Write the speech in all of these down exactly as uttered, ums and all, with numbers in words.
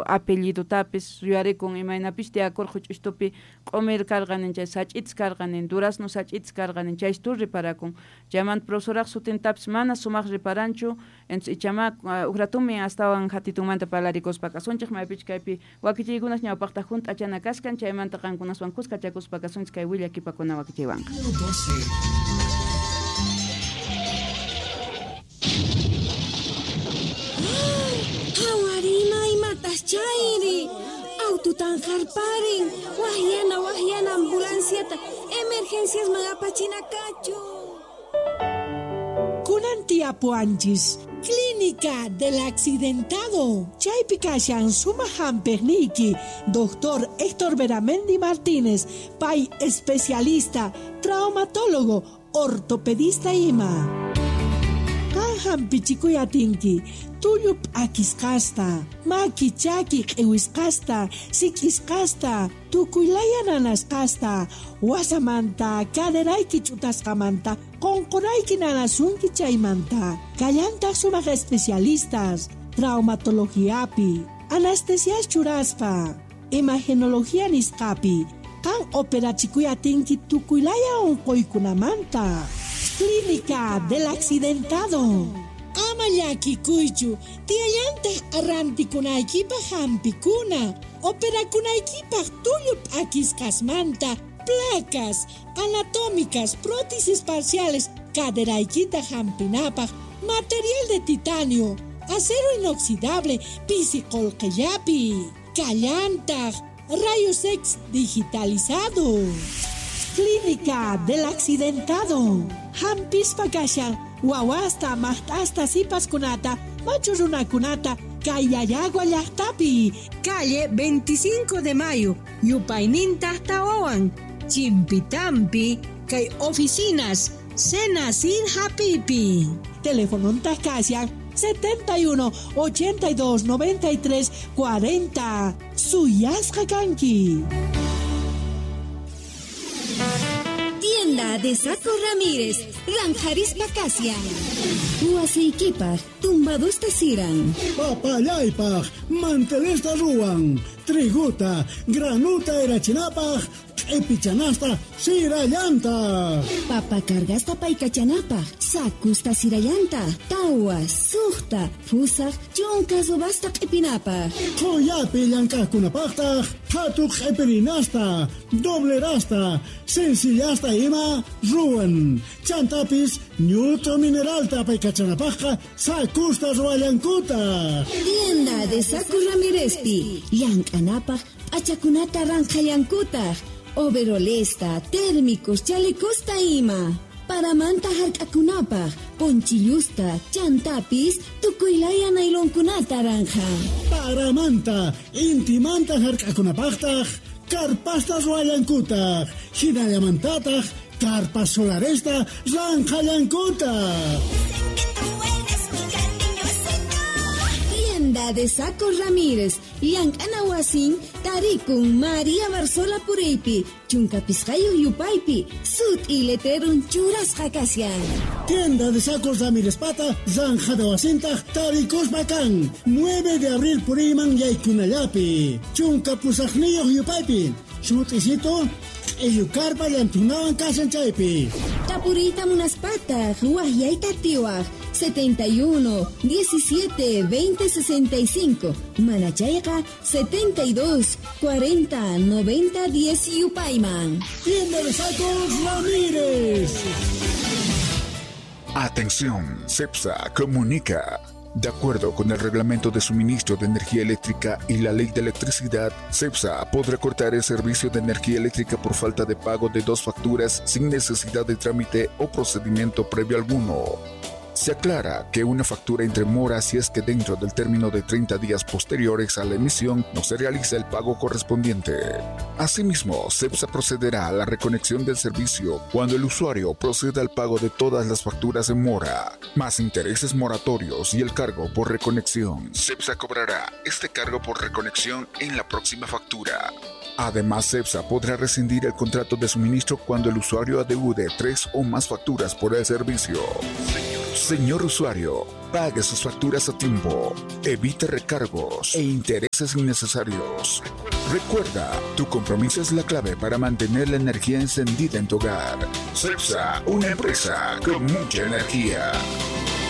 apellidotapis yuyarikun imaynapis tiyakurqa ch'ustupi q'umir karqanin chay sach'itas karqanin durazno sach'itas karqanin chaystu riparakun chaymanta profesoraq sutintapis mana sumaq riparanchu entonces ichama ujratumin astawan hatitunmanta parlarikuspa kasunchik maypichu kaypi wakichiykunas ñawpaqta junt'achana kaskan chaymanta qankunaswan kuskachakuspa kasunchik kay willakipakuna wakichiywanqa. Hawarima imatas chayri aututan harparin wahyana wahyana ambulanciata emergencias apachinakachu. Kunan tiapuanchis Clínica del Accidentado. Chaypi kashan sumaq hampiqniyki Doctor Héctor Beramendi Martínez, pay especialista, traumatólogo, ortopedista ima. Qan hampichikuy atinki tullu p'akisqasta, maki chaki q'iwisqasta, sik'isqasta, tukuylaya nanasqasta, wasamanta, caderayki ch'utasqamanta, qunqurayki nanasunki chaymanta. Kallantaq sumaq especialistas, traumatologiapi, anestesias churaspa, imagenología nisqapi, qan operachikuy atinki tukuylaya unquykunamanta. Clínica del Accidentado. Ama llakikuychu, tiyallantaq arrantikunaykipaq hampikuna, operakunaykipaq tullu p'akisqasmanta, placas anatómicas, prótesis parciales, caderaykita hampinapaq, material de titanio, acero inoxidable, pisi qolqellapi, kallantaq, rayos X digitalizado. Clínica del Accidentado. Hampispa kashan wawasta, maqt'asta, sipaskunata, machu runakunata, Kayayagua llaqtapi. Calle veinticinco de Mayo, yupayninta tawawan, Chimpitampi, kay oficinas, Senacid Hapipi. Teléfono kashan setenta y uno, ochenta y dos, noventa y tres, cuarenta. Suyasqa kanki. Tienda de Saco Ramírez, Ranjarispa Casia. Huasiykipaj, tumbadusta siran. Papallaypaj, mantelesta ruwan. Triguta, granuta erachinapaj, q'ipichanasta sirallanta. Papa cargasta paykachanapaj, sakusta sirallanta, tawa, suqta, fusaj, chunka subasta q'ipinapaj. Qhuyapi llank'aqkunapaqtaq, qhatu q'ipirinasta, doblerasta, sencillasta ima ruwan. Chantapis ñut'u mineralta paykachanapaqqa sakusta ruwallankutaq. Tienda de Saco Ramírezpi, llank'anapaq p'achakunata ranqhallankutaq. Overolesta, térmicos, chalecosta ima. Paramanta hark'akunapaq, ponchillusta, chantapis, tukuylaya nailonkunata ranja. Paramanta, intimanta hark'akunapaqtaq, karpasta ruwallankutaq, hinallamantataq, karpas solaresta ranqhallankutaq. Tienda de Saco Ramírez, llank'ana wasin, tarikun María Barzola Puriypi, chunka pisqayuq yupaypi, sut'i letrerun churasqa kashan. Tienda de Sacos Ramírez pata, zanjada wasintaq tarikuspa kan, nueve de abril puriyman yaykunallapi, chunka pusaqniyuq yupaypi, sut'isito, q'illukarpa llantunawan kashan chaypi. Tapuriyta munaspataq, wahyayta tiwaq, setenta y uno, diecisiete, veinte, sesenta y cinco. Manachayqa, setenta y dos, cuarenta, noventa, diez yupayman. Tienda de Sacos Ramírez. Atención, CEPSA comunica. De acuerdo con el Reglamento de Suministro de Energía Eléctrica y la Ley de Electricidad, CEPSA podrá cortar el servicio de energía eléctrica por falta de pago de dos facturas sin necesidad de trámite o procedimiento previo alguno. Se aclara que una factura entre mora si es que dentro del término de treinta días posteriores a la emisión no se realiza el pago correspondiente. Asimismo, CEPSA procederá a la reconexión del servicio cuando el usuario proceda al pago de todas las facturas en mora, más intereses moratorios y el cargo por reconexión. CEPSA cobrará este cargo por reconexión en la próxima factura. Además, CEPSA podrá rescindir el contrato de suministro cuando el usuario adeude tres o más facturas por el servicio. Señor usuario, Pague sus facturas a tiempo. Evite recargos e intereses innecesarios. Recuerda, tu compromiso es la clave para mantener la energía encendida en tu hogar. CEPSA, una empresa con mucha energía.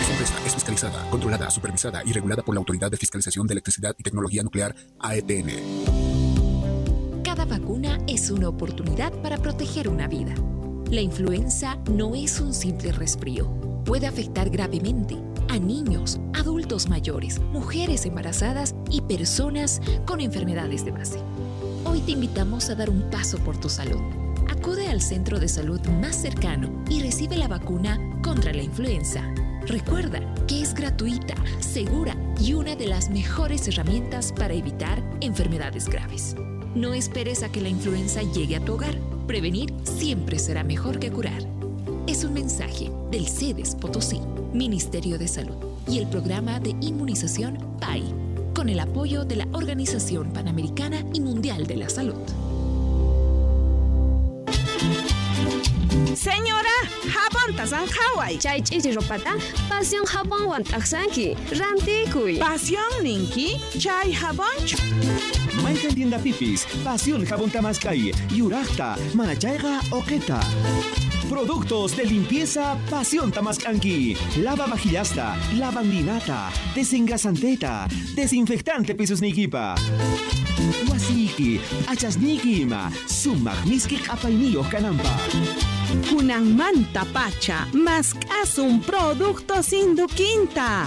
Esta empresa es fiscalizada, controlada, supervisada y regulada por la Autoridad de Fiscalización de Electricidad y Tecnología Nuclear, A E T N. Cada vacuna es una oportunidad para proteger una vida. La influenza no es un simple resfrío. Puede afectar gravemente a niños, adultos mayores, mujeres embarazadas y personas con enfermedades de base. Hoy te invitamos a dar un paso por tu salud. Acude al centro de salud más cercano y recibe la vacuna contra la influenza. Recuerda que es gratuita, segura y una de las mejores herramientas para evitar enfermedades graves. No esperes a que la influenza llegue a tu hogar. Prevenir siempre será mejor que curar. Es un mensaje del SEDES Potosí, Ministerio de Salud y el programa de inmunización P A I, con el apoyo de la Organización Panamericana y Mundial de la Salud. Señora, jabón tasanjaway. Chay ch'ichi ropata, pasión jabonwan t'aqsanki, rantikuy. Pasión ninki, chay jabonchu. Mayqan tienda pipis, pasión jabón tamaskay, yuraqta, manachayqa oqeta. Productos de limpieza Pasión Tamascanqui. Lava vajillasta, lavandinata, desengrasanteta, desinfectante pisos nikipa. Wasiki, achasniki ima, sumaq miski q'apayniyuq kananpaq. Kunanmanta pacha, mask'asun productos induquinta.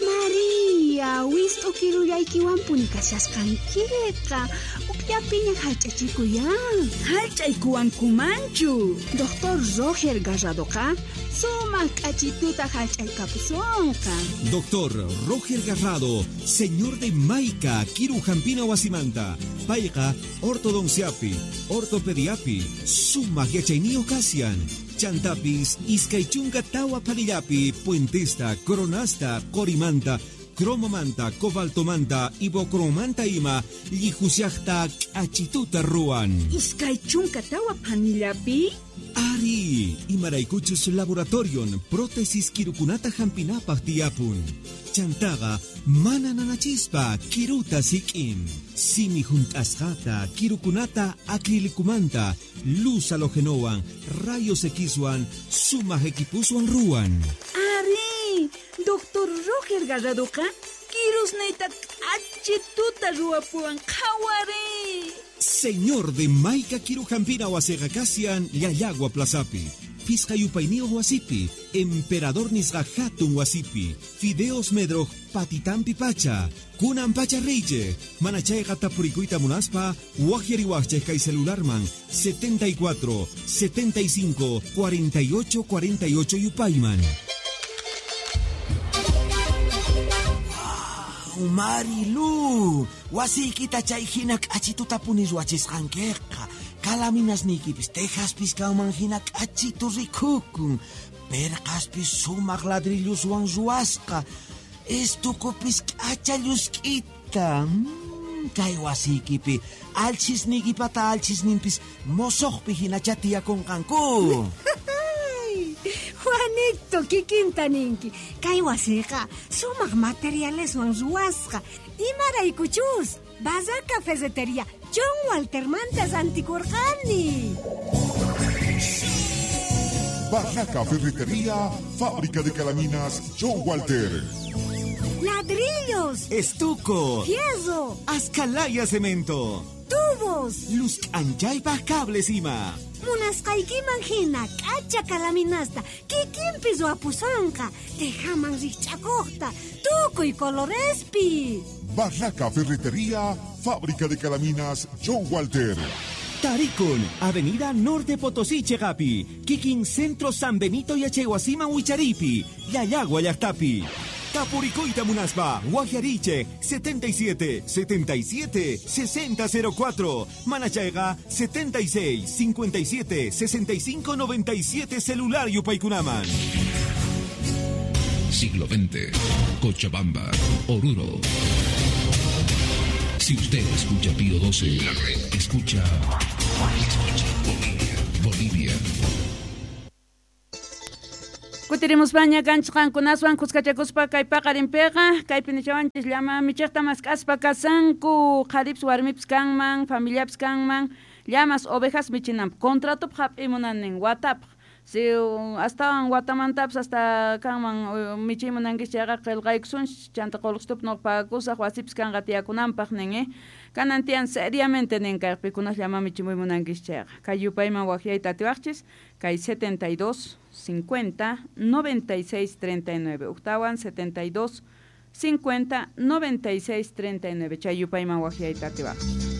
María, wist'u kirullaykiwanpuni kashasqankiqa. Ukllapiña hallch'achikuyan. Hallch'aykuwankumanchu. Doctor Roger Garradoqa sumaq k'achituta hallch'aykapusunqa. Doctor Roger Garrado, señor de Maica, Kiru Jampina Wasimanta, Payqa, ortodonciapi, ortopediapi, sumaq yachayniyuq kasian. Chantapis, iskay chunka tawa panillapi, puentesta, coronasta, corimanta, cromomanta, cobaltomanta, ibocromanta ima, llijusiaqta k'achituta ruwan. Iskay chunka tawa panillapi? Ari, imaraykuchus laboratorion, prótesis kirukunata hampinapaq tiyapun. Chantaqa, mana nanachispa, kiruta sik'in. Simi junt'asqata, kirukunata acrilicumanta, luz halogenowan, rayos Xwan, sumaq equipuswan ruwan. Ari, Doctor Roger Garradoqa, kirusniyta k'achituta ruwapuwan qhawari. Señor de Maica Kirujampina wasiqa kasian Llallagua Plazapi, Pisqa yupayniyuq wasipi, Emperador nisqa hatun wasipi, Fideos Medroj patitampi pacha, Kunan pacha riche, manachayqa tapurikuyta munaspa, waqyariwaqchej kay celularman setenta y cuatro, setenta y cinco, cuarenta y ocho, cuarenta y ocho yupayman. Marilu, wasiykita chay hina k'achituta puni ruwachisqankiqa. Kalaminasniykipis tejaspis kanman hina k'achitu rikukun. Perqaspis sumaq ladrilluswan ruwasqa. Estukupis k'acha llusk'ita. Mm, kay wasiykipi alchisniykipata alchisninpis mosoqpi hinacha tiyakunqanku. Juanito, kikinta ninki. Kay wasiqa sumaq materialeswan ruwasqa. Imaraykuchus, Barraca Ferretería, John Walter mantas antikurqani. Barraca Ferretería, fábrica de calaminas John Walter. Ladrillos, estuco, fierro, ascalaya cemento, tubos, luz anchaypaj cables ima. Munasqaykiman hina k'acha kalaminasta kikinpi ruwapusonqa, tejaman rikch'akuqta, tukuy colorespi. Barraca Ferretería, fábrica de calaminas John Walter. Tarikun, Avenida Norte Potosí, Chegapi, Kikin Centro San Benito y Achehuasima Huicharipi, Llallagua Llaqtapi. Tapuricoita Munaspa, Guajiariche, setenta y siete, setenta y siete, sesenta cero cuatro, Manachaiga, setenta y seis, cincuenta y siete, sesenta y cinco, noventa y siete, celular Yupaykunaman. Siglo veinte, Cochabamba, Oruro. Si usted escucha Pío doce, la red escucha, escucha Bolivia, Bolivia. Kutirimuspaña kanchis qankunaswan kuskachakuspa kay paqarinpiqa kaypi nichawanchis llama michiqta mask'aspa kasanku qharipis warmipis kanman familiapis kanman llamas ovejas michinanpaq contratopaq hap'imunanin watapaq si astawan watamantapis hasta kanman michiy munankis chayqa qillqaykusunchis chanta qullqitupi nuqa pagakusaq wasipis kanqa tiyakunanpaq nin eh kanan tiyan seriamente nin kay pikunas llama michimuy munankis chayqa kay yupayman waqyayta atiwaqchis kay setenta y dos cincuenta noventa y seis treinta y nueve uktawan setenta y dos cincuenta noventa y seis treinta y nueve chay yupayman waqyayta atiwaqchis.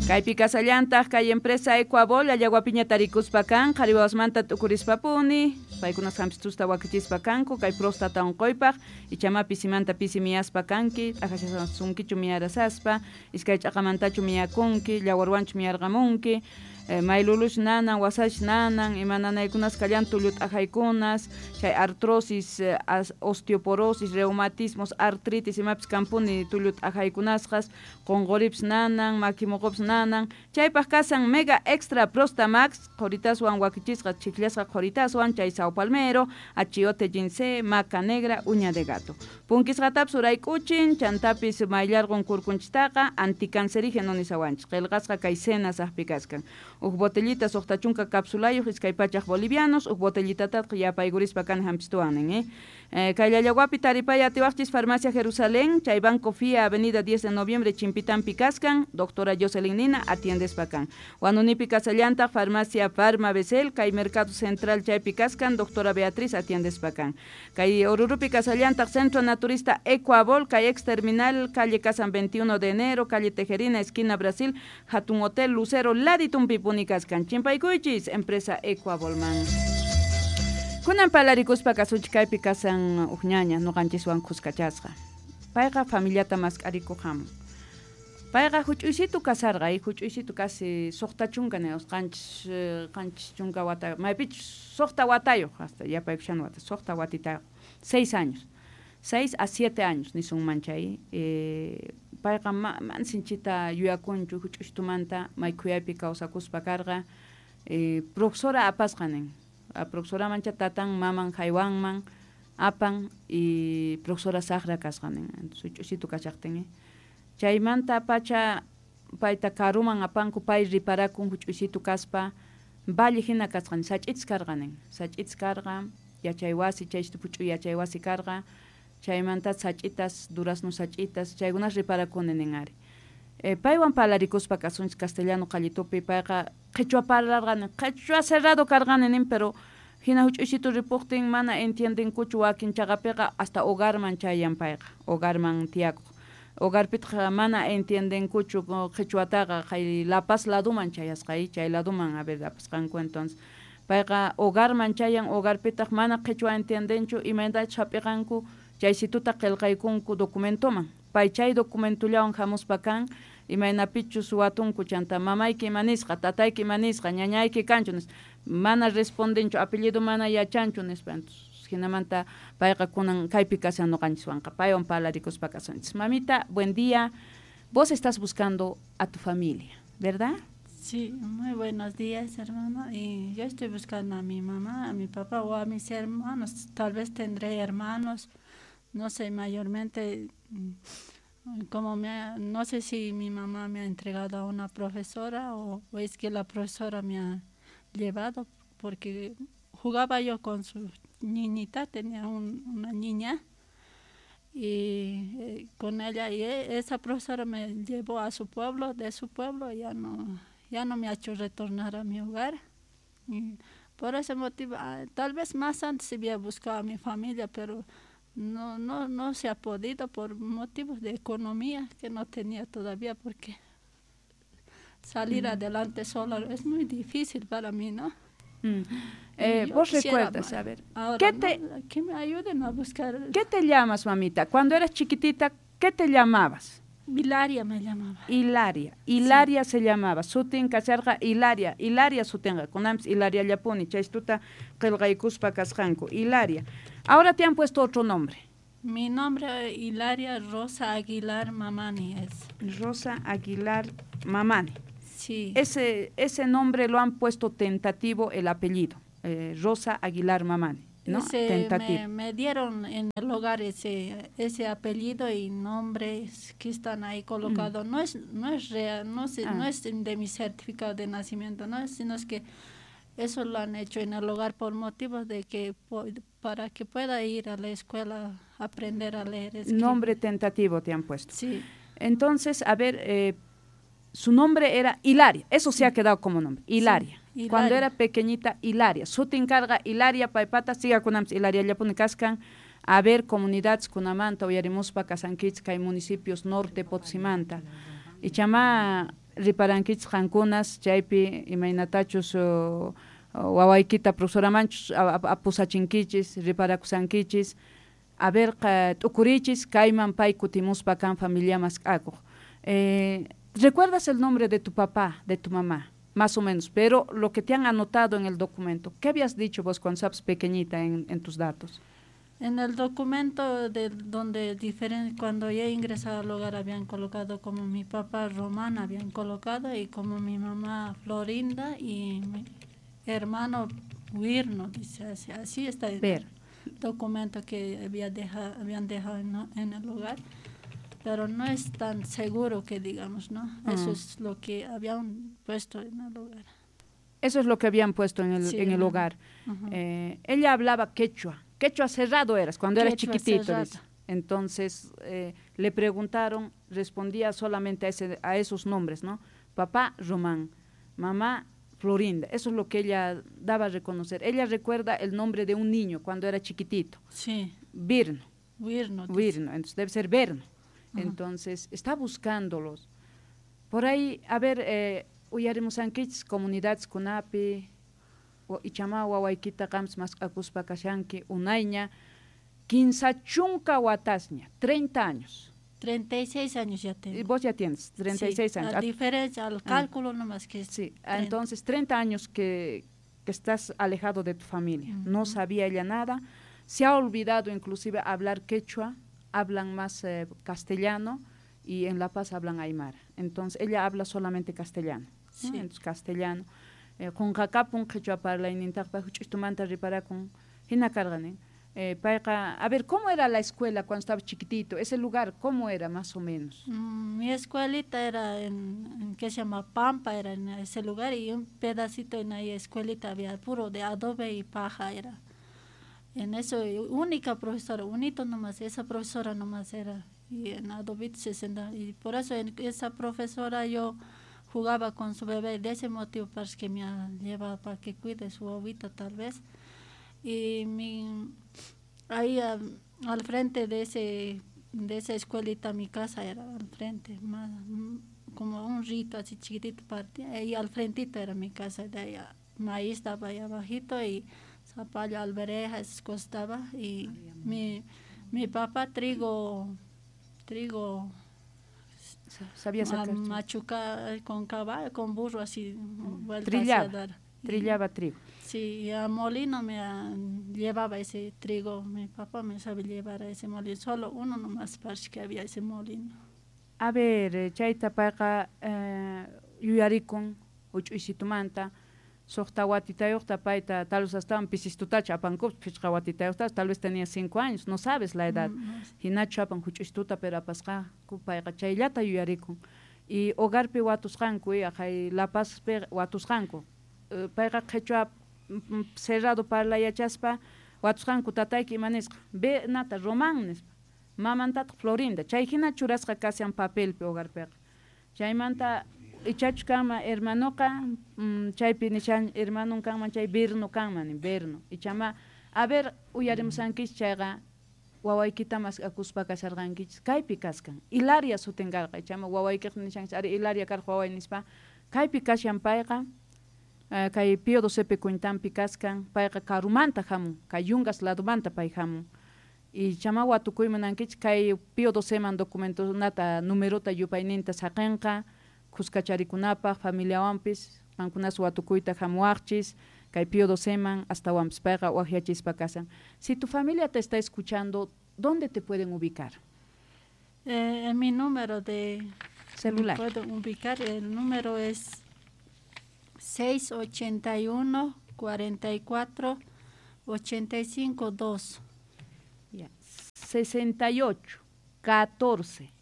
Kaypi kasallantaq kay empresa Ecuabol Allaguapiña tarikuspa kan qhari wawasmanta t'ukurispapuni paykunas hampistusta wakichispa kanku kay próstata unquypaq ichama pisimanta pisi miyaspa kanki t'aqashasunkichu miyarasaspa iskay ch'aqamantachu miyakunki llawarwanchu miyarqamunki eh, maylulush nanan wasash nanan ima nanaykunas kallan tullu t'aqaykunas chay artrosis eh, osteoporosis reumatismos artritis imapis kanpuni tullu t'aqaykunasqas qunquripis nanan makimuqupis nanan chaypaq kasan Mega Extra Prostamax qhuritaswan wakichisqa chikllasqa qhuritaswan chay sao palmero achiote ginseng maca negra uña de gato punkisqatapis urayk'uchin chantapis mayllarqun kurkunchistaqa anticancerígeno nisawanchis qillqasqa kay cenas aqpi kaskan uj botellita suqta chunka capsulayuq iskay pachaq bolivianos uj botellitataqa yapaykurispa kan hampistuwan nin eh eh, kay Llallaguapi taripay atiwaqchis Farmacia Jerusalén chay Banco F I A Avenida diez de Noviembre Chimpitampi kaskan doctora Jocelyn Nina atiendespa kan Huanunipi kasallantaq Farmacia Farma Becel kay Mercado Central chaypi kaskan doctora Beatriz atiendespa kan kay Orurupi kasallantaq Centro Naturista Ecuabol kay ex terminal calle Casan veintiuno de enero calle Tejerina esquina Brasil Hatun Hotel Lucero Laditumpi puni kaskan chimpaykuychis empresa Ecuabolman. Kunan palarikuspa kasunchik kaypi kasan uj ñaña nuqanchiswan kuskachasqa payqa familiata mask'arikuq hamun payqa huch'uysitu kasarqa y huch'uysitu casi suqta chunka niwas qanchis qanchis chunka wata maypichus suqta watayuq hasta yapaykushan wata suqta watitayuq seis años seis a siete años nisunman chay eh, payqa man sinchita yuyakunchu huch'uysitumanta may khuyaypi kawsakuspa karqa eh, profesora apasqa nin a profesora mancha tatan maman haywanman apan y profesora saqra kasqa nin huch'uysitu kashaqtin eh. Chaymanta pacha payta karuman apanku pay riparakun huch'uysitu kaspa valle hina kasqan sach'itis karqa nin sach'itis karqa yachaywasi chaysitu puch'uy yachaywasi karqa chaymanta sach'itas durazno sach'itas chaykunas riparakuni nin ari eh, paywan palarikuspa kasunchis castellano qallitupi payqa qhichwa parlarqani qhichwa cerrado karqani nin pero hina huch'uysitu ripuqtin mana entiendenkuchu wakin chaqapiqa hasta hogarman chayan payqa hogarman tiyakuq hogarpitaq mana entiendenkuchu qhichwataqa kay La Paz laduman chayasqa chay laduman a ver apasqanku entonces payqa hogarman chayan hogarpitaq mana qhichwa entiendenchu imaynatachus hap'iqanku chaysituta qillqaykunku documentoman pay chay documentollawan hamuspa kan imaynapichus watunku chanta mamayki ima nisqa tatayki ima nisqa ñañayki kanchu nispa mana respondenchu apellido mana yachanchu nispa hinamanta payqa kunan kaypi kashan nuqanchiswanqa paywan palarikuspa kasunchis. Mamita, buen día. Vos estás buscando a tu familia, ¿verdad? Sí, muy buenos días, hermano. Y yo estoy buscando a mi mamá, a mi papá o a mis hermanos. Tal vez tendré hermanos, no sé, mayormente, como me ha, no sé si mi mamá me ha entregado a una profesora o, o es que la profesora me ha llevado, porque jugaba yo con su niñita, tenía un, una niña, y eh, con ella, y esa profesora me llevó a su pueblo, de su pueblo ya no, ya no me ha hecho retornar a mi hogar. Y por ese motivo, tal vez más antes había buscado a mi familia, pero no, no, no se ha podido por motivos de economía que no tenía todavía, porque salir mm. adelante solo es muy difícil para mí, ¿no? Mm. Eh, vos recuerdas, a ver, ahora, ¿qué te, no, que me ayuden a buscar? ¿Qué te llamas, mamita? Cuando eras chiquitita, ¿qué te llamabas? Hilaria me llamaba. Hilaria, Hilaria sí. Se llamaba. Sutin kasharqa Hilaria, Hilaria sutinqa. Kunanpis Hilaria llapuni, chaystuta qillqaykuspa kasqanku. Hilaria. Ahora te han puesto otro nombre. Mi nombre Hilaria Rosa Aguilar Mamani es. Rosa Aguilar Mamani. Sí. Ese, ese nombre lo han puesto tentativo el apellido, eh, Rosa Aguilar Mamani, ¿no? Ese Tentativo. Me, me dieron en el hogar ese, ese apellido y nombres que están ahí colocados. Mm. No es, no es real, no, se, ah. no es de mi certificado de nacimiento, no, sino es que eso lo han hecho en el hogar por motivos de que para que pueda ir a la escuela a aprender a leer. Escribir. Nombre tentativo te han puesto. Sí. Entonces, a ver, eh, su nombre era Hilaria, eso se ha quedado como nombre, Hilaria. Sí, Hilaria. Cuando era pequeñita, Hilaria. Sutin carga Hilaria, paypata, siga kunamps Hilaria llapuni kaskan. A ver, comunidades kunamanta, uyarimuspa kasankichis kay municipios norte Potosímanta. Ichama riparankichis qankunas chaypi imaynatachus uh, wawaykita profesoramanchus apusachinkichis, riparakusankichis. A ver, t'ukurichis kayman pay kutimuspa kan familia mask'akuq. Eh, ¿recuerdas el nombre de tu papá, de tu mamá? Más o menos, pero lo que te han anotado en el documento, ¿qué habías dicho vos cuando estabas pequeñita en, en tus datos? En el documento de donde diferente, cuando yo ingresaba al hogar habían colocado como mi papá Román, habían colocado, y como mi mamá Florinda y mi hermano Wirno, dice así, así está en Ver. el documento que había dejado, habían dejado en, en el hogar. Pero no es tan seguro que digamos, ¿no? Mm. Eso es lo que habían puesto en el hogar. Eso es lo que habían puesto en el, sí, en el hogar. Uh-huh. Eh, ella hablaba quechua. Quechua cerrado eras cuando quechua eras chiquitito. Cerrado. Entonces, eh, le preguntaron, respondía solamente a, ese, a esos nombres, ¿no? Papá Román, mamá Florinda. Eso es lo que ella daba a reconocer. Ella recuerda el nombre de un niño cuando era chiquitito. Sí. Virno. Virno. Virno, entonces debe ser Verno. Entonces, está buscándolos. Por ahí, a ver, eh, uyarimusankichis comunidades kunapi, ichama wawaykita qampas mask'akuspa kashanki unayña, kinsa chunka watasña, treinta años. treinta y seis años ya tengo. Y vos ya tienes, treinta y seis sí, años. A diferencia, al cálculo ah, nomás que es. Sí, entonces treinta años que, que estás alejado de tu familia. Uh-huh. No sabía ella nada. Se ha olvidado inclusive hablar quechua, hablan más eh, castellano y en La Paz hablan aymara. Entonces ella habla solamente castellano. Sí. ¿No? Entonces castellano. Qunqakapun quechua parlaynintaqa huch'uytumanta riparakun hina karqani. Eh, payqa, a ver, ¿cómo era la escuela cuando estaba chiquitito? Ese lugar, ¿cómo era más o menos? Mm, mi escuelita era en, en que se llama Pampa, era en ese lugar, y un pedacito en ahí escuelita había puro de adobe y paja era. En eso, única profesora, unito nomás, esa profesora nomás era, y en adobito se sentaba, y por eso en esa profesora yo jugaba con su bebé, de ese motivo parece que me llevaba para que cuide su bobita tal vez. Y mi, ahí a, al frente de ese de esa escuelita mi casa era al frente, más, como un rito así chiquitito partía, ahí al frentito era mi casa, de ahí maíz estaba ahí abajito y zapallo, albereja, esas cosas estaba, y mi, mi papá trigo, trigo sabía sacar machuca con caballo, con burro así, vuelta trillaba, a dar. Trillaba trigo. Sí, y a molino me a, llevaba ese trigo, mi papá me sabía llevar a ese molino, solo uno nomás parece que había ese molino. A ver, chayta payqa eh, yuyarikun huch'uysitumanta, suqta watitayuqta payta tal vez astawan pisistutacha apankupas, phichqa watitayuqta, tal vez tenía cinco años, no sabes la edad. Mm, no. Hinachu apan huch'uystuta, pero apasqanku payqa chayllata yuyarikun. Y hogarpi watusqanku, aqhay La Pazpi watusqanku. Payqa qhichwa cerrado parla yachaspa watusqanku tatayki ima nisqa, ve nata Román nispa, mamantataq Florinda, chay hina churasqa kashan papelpi hogarpiqa. Chaymanta ichachu kanman hermanoqa, mm, chaypi nishan hermanon kanman chay Berno kanman, Berno. Ichama, a ver, uyarimusankichis chayqa wawaykita mask'akuspa kasharqankichis, kaypi kaskan. Hilaria sutin karqa, ichama wawaykiq nishankichis, ari Hilaria karqa waway nispa, kaypi kashan payqa, Uh, kay Pío docepi cuentanpi kaskan, payqa karumanta hamun, kay Yungas ladumanta pay hamun. Y chama watukuy munankichis kay Pío doceman documentonata numerota yupayninta saqinqa, kuskacharikunapaq, familiawanpis, qankunas watukuyta hamuwaqchis, kay Pío doceman astawanpis payqa waqyachispa kasan. Si tu familia te está escuchando, ¿dónde te pueden ubicar? Eh, en mi número de celular. Me puedo ubicar, el número es seis ochenta y uno, cuarenta y cuatro, ochenta y cinco, dos. Ya. sesenta y ocho, catorce,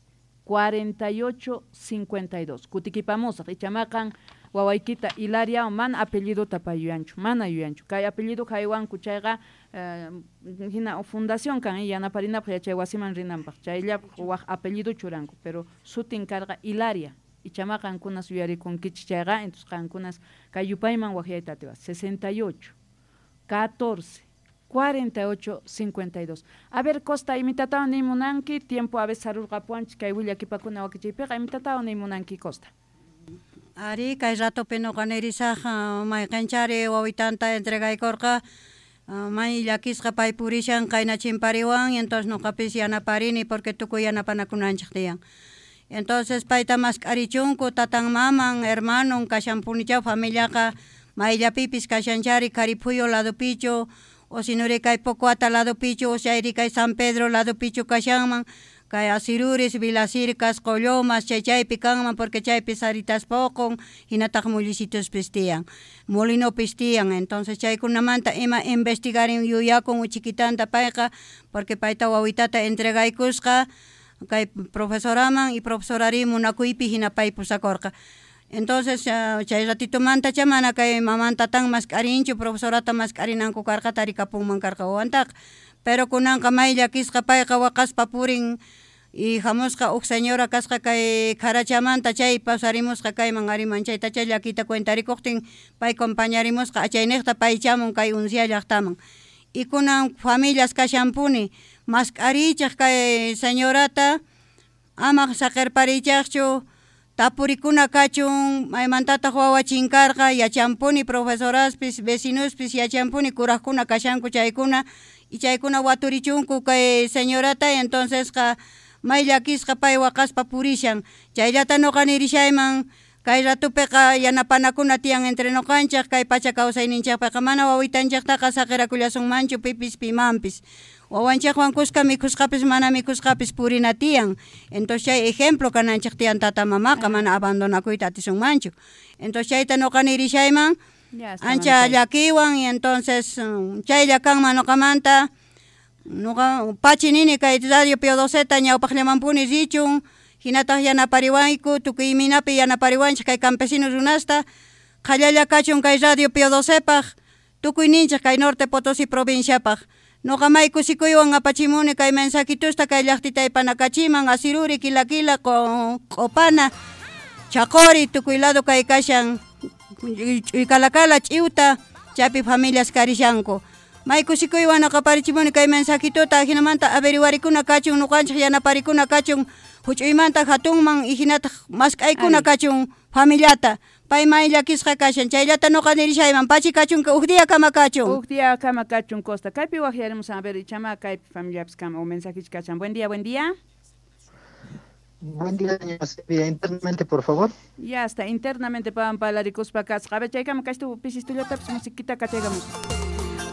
cuarenta y ocho, cincuenta y dos. Kutikipamosaq ichamaqan wawaykita Hilaria mana apellido tapayuyanchu, mana yuyanchu. Kay apellido haywanku chayqa eh, hina fundación kan yanaparinapaq yachay wasiman rinanpaq. Chayllapaq waj apellido churanku, pero sutin karqa Hilaria. Ichama qankunas yuyarikunkichik chayqa, entonces qankunas kay yupayman waqyayta atiwaq. sesenta y ocho, catorce, cuarenta y ocho, cincuenta y dos. A ver, Costa, imitatawan nimunanki, tiempo a veces sarurqapuwanchik kay willakipakuna wakichiypiqa, imitatawan nimunanki, Costa. Ari, kay ratopi noqa nirisaj mayqinchari wawitanta entregaykurqa, may llakisqa pay purishan qayna chimpariwan, entonces noqapis yanaparini porque tukuy yanapanakunanchik tiyan. Entonces payta mask'arichunku tatan maman, hermanon kashanpunichaw familiaqa mayllapipis kashanchari Cariphuyo ladopichu, o sinuri kay Pocoata ladopichu, o chayri kay San Pedro ladopichu kashanman, kay Asiruris, Vilacircas, Qollomas, chay chaypi kanman porque chaypi saritas poqon, hinataq mullisitus tiyan, molinopis tiyan. Entonces chaykunamanta ima investigarin yuyakun uchikitanta payqa, porque payta wawitata entregaykusqa kay profesoraman y profesorari munakuypi hina pay pusakurqa. Entonces chay ratitumanta chamana kay mamanta tan mask'arinchu, profesorata mask'arinanku karqa tarikapunman karqa wawantaqa. Pero kunanqa may llakisqa payqa waqaspa purin y hamusqa huk señora kasqa kay Kharachamanta chay pasarimusqa kayman ariman chayta chay llakita cuentarikuqtin pay compañarimusqa achayniqta pay chamun kay uncia llaqtaman. Y kunan familias kashanpuni mask'arichaq kay señorata ama saqirparichaqchu tapurikuna kachun maymantataq wawa chinkarqa yachanpuni profesoraspis vecinospis yachanpuni kuraqkuna kashanku chaykuna y chaykuna waturichunku kay señorata. Entonces qa may llakisqa pay waqaspa purishan chayllata noqa nirishayman kay ratupiqa yanapanakuna tiyan entre noqanchaq kay pacha kawsayninchaqpiqa mana wawitanchaqtaqa saqirakullasunmanchu pipis pimanpis wawanchaqwan kuska mikhusqapis mana mikhusqapis purina tiyan. Entonces chay ejemplo kananchaq tiyan tata mamaqa mana abandonakuyta atisunmanchu. Entonces chayta noqa nirishayman ancha llakiwan y entonces chaylla kanman noqamanta noqa pachi nini kay radio Pío doceta ñawpaqllamanpuni richun hinataq yanapariwanku tukuy minapi yanapariwanchik kay campesinos runasta qhallalla kachun kay radio Pío docepaq tukuy ninchik kay Norte Potosí provinciapaq. Noqa may kusikuywan apachimuni kay mensajitusta kay llaqtitay panakachiman Asiruri, Quila Quila, Q'opana, Chaqori tukuy lado kay kashan Ch'uykalakala, Ch'iwta chaypi familias karishanku. May kusikuywan aqaparichimuni kay mensajituta hinamanta averiguarikuna kachun noqanchik yanaparikuna kachun huch'uymanta hatunman y hinataq mask'aykuna kachun familiata. Pay may llakisqa kashan chayllata noqa nirishayman pachi kachun huk día kama kachun. Huk día kama kachun Costa. Kaypi waqyarimus a ver ichama kaypi familiapis kama o mensajich kachan. Buen día, buen día. Buen día, señora Silvia. Internamente, por favor. Ya está, internamente pavan palarikuspa kasqa. A ver, chaykama kashtu pisistullatapas musiquita kachaykamus.